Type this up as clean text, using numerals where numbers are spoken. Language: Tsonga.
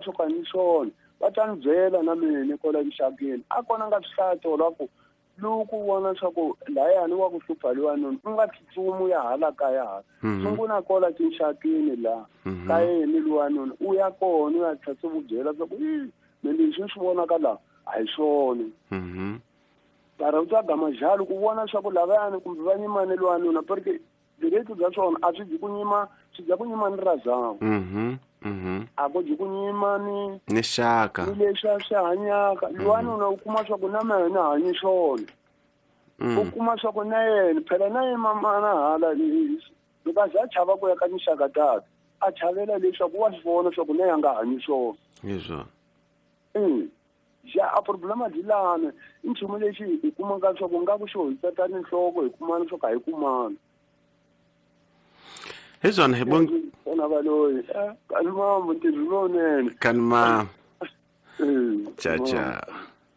swo ka ni swona va ta ni byela na mina kwala mixakeni a kona nga swi hlaya tolo a ku loko u vona swa ku layani wa ku hlupha lowanoni u nga tsutsumi u ya hala kaya hala sungula kwala tinxakeni laha ka yena lowanoni u ya kona u ya tlhela u byela swa ku i me leswi ni swi vonaka laha a hi swona. Mara u ta gama jalo ku vona swa ku lavayani kumbe va nyimane lowanuna porque byiletu bya swona a swi dyi ku nyima, swi dya ku nyima ni razangu. A ku dyi ku nyima ni ni xaka ni leswi a swi hanyaka. Lowanuna u kuma swa ku na mina hanyi swona. U kuma swa ku na yena phela na yena mamana hala loko a za a chava ku ya ka tinxaka takhe a chavela leswaku wa swi vona swa ku na yena a nga hanyi swona. Hi swona. Ja a problema byi lana i nchumu lexi hi kumaka swa ku nga ku xo hi tsatani nhloko hi kumana swa ku a hi kumana. Hi swona hi bon Vona valoyi kanimambo ntirho lowunene. Kanima. Cha cha.